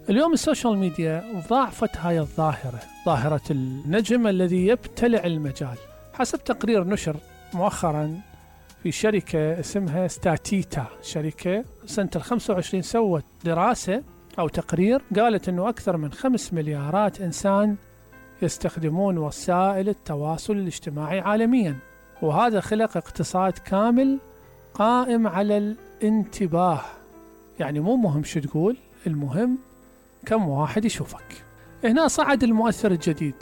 اليوم السوشيال ميديا ضاعفت هاي الظاهرة، ظاهرة النجم الذي يبتلع المجال. حسب تقرير نشر مؤخرا في شركة اسمها ستاتيتا، شركة سنة 25 سوت دراسة أو تقرير قالت أنه أكثر من 5 مليارات إنسان يستخدمون وسائل التواصل الاجتماعي عالميا، وهذا خلق اقتصاد كامل قائم على الانتباه. يعني مو مهم شو تقول، المهم كم واحد يشوفك. هنا صعد المؤثر الجديد.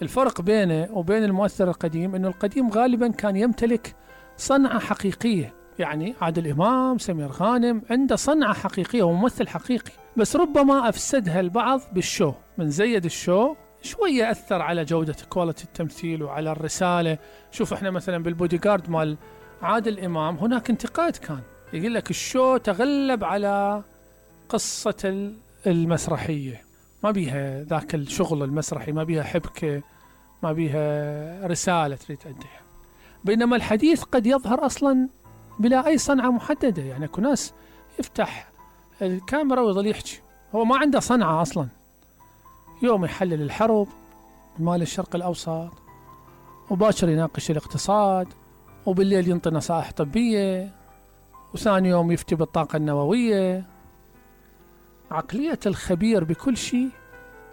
الفرق بينه وبين المؤثر القديم أنه القديم غالبا كان يمتلك صنعة حقيقية، يعني عادل إمام، سمير غانم عنده صنعة حقيقية وممثل حقيقي، بس ربما أفسدها البعض بالشو، من زيد الشو شوية أثر على جودة كواليتي التمثيل وعلى الرسالة. شوف احنا مثلا بالبودي جارد مال عادل إمام هناك انتقاد كان يقول لك الشو تغلب على قصة المسرحية، ما بيها ذاك الشغل المسرحي، ما بيها حبكة، ما بيها رسالة تريد تأديها. بينما الحديث قد يظهر أصلا بلا أي صنعة محددة، يعني أكو ناس يفتح الكاميرا ويظل يحكي، هو ما عنده صنعة أصلا. يوم يحلل الحرب مال الشرق الأوسط، وباكر يناقش الاقتصاد، وبالليل ينطي نصائح طبية، وثاني يوم يفتي بالطاقة النووية. عقلية الخبير بكل شيء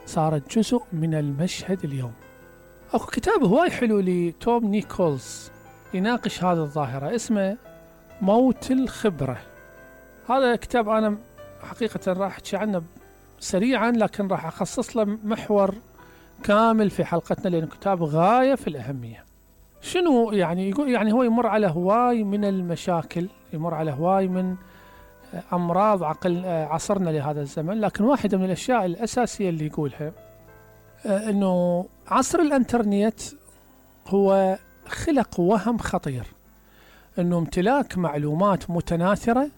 صارت جزء من المشهد اليوم. أكو كتاب هواي حلو لتوم نيكولز يناقش هذه الظاهرة، اسمه موت الخبرة. هذا كتاب أنا حقيقة راح أحكي عنه سريعا، لكن راح أخصص له محور كامل في حلقتنا لأنه كتاب غاية في الأهمية. شنو يعني يقول؟ يعني هو يمر على هواي من المشاكل، يمر على هواي من أمراض عصرنا لهذا الزمن، لكن واحدة من الأشياء الأساسية اللي يقولها أنه عصر الإنترنت هو خلق وهم خطير، أنه امتلاك معلومات متناثرة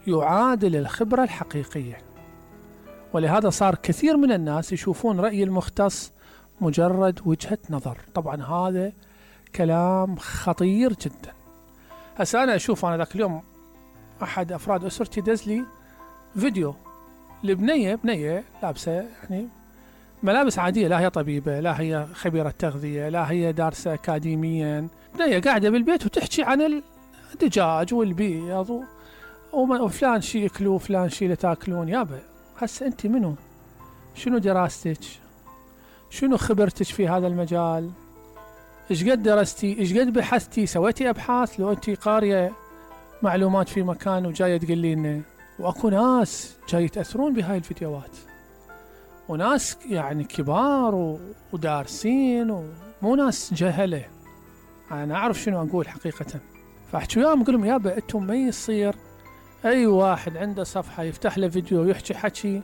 يعادل الخبرة الحقيقية، ولهذا صار كثير من الناس يشوفون رأي المختص مجرد وجهة نظر. طبعا هذا كلام خطير جدا. هسا أنا أشوف، أنا ذاك اليوم أحد أفراد أسرتي دز لي فيديو بنية لابسة يعني ملابس عادية، لا هي طبيبة، لا هي خبيرة تغذية، لا هي دارسة أكاديميا، بنية قاعدة بالبيت وتحكي عن الدجاج والبيض وفلان شي يأكلوا وفلان شي لا تاكلون. يابا هسه أنت منو؟ شنو دراستك؟ شنو خبرتك في هذا المجال؟ إيش قد درستي؟ إيش قد بحثتي؟ سويتي أبحاث؟ لو أنت قارية معلومات في مكان وجاية تقولي لنا. وأكو ناس جاي يتأثرون بهاي الفيديوهات، وناس يعني كبار ودارسين ومو ناس جهلة. أنا أعرف شنو أقول حقيقة، فأحكي وياهم أقول لهم يابا أنتم ما يصير أي واحد عنده صفحة يفتح له فيديو ويحكي حكي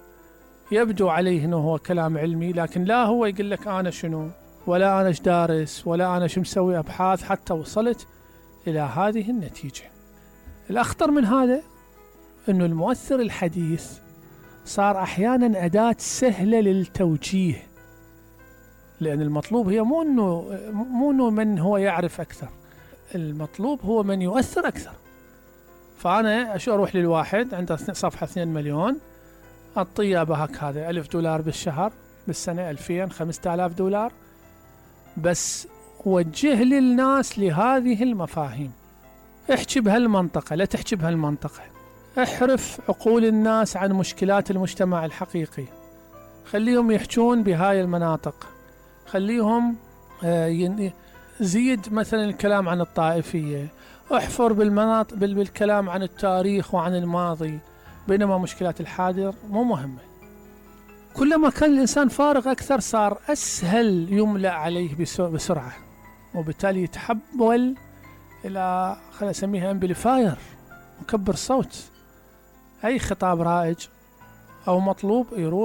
يبدو عليه أنه هو كلام علمي، لكن لا هو يقول لك أنا شنو، ولا أنا إيش دارس، ولا أنا شو مسوي أبحاث حتى وصلت إلى هذه النتيجة. الأخطر من هذا أنه المؤثر الحديث صار أحيانا أداة سهلة للتوجيه، لأن المطلوب هي مو أنه من هو يعرف أكثر، المطلوب هو من يؤثر أكثر. فأنا أروح للواحد عنده صفحة 2 مليون أعطيه بهك هذا $1000 بالشهر، بالسنة 2000 $5000، بس وجه للناس لهذه المفاهيم. احكي بهالمنطقة، لا تحكي بهالمنطقة، احرف عقول الناس عن مشكلات المجتمع الحقيقي، خليهم يحجون بهاي المناطق، خليهم زيد مثلا الكلام عن الطائفية، احفر بالكلام عن التاريخ وعن الماضي، بينما مشكلات الحاضر مو مهمة. كلما كان الإنسان فارغ أكثر صار أسهل يملأ عليه بسرعة، وبالتالي يتحول إلى خلينا نسميها امبليفاير، مكبر صوت. أي خطاب رائج أو مطلوب يروح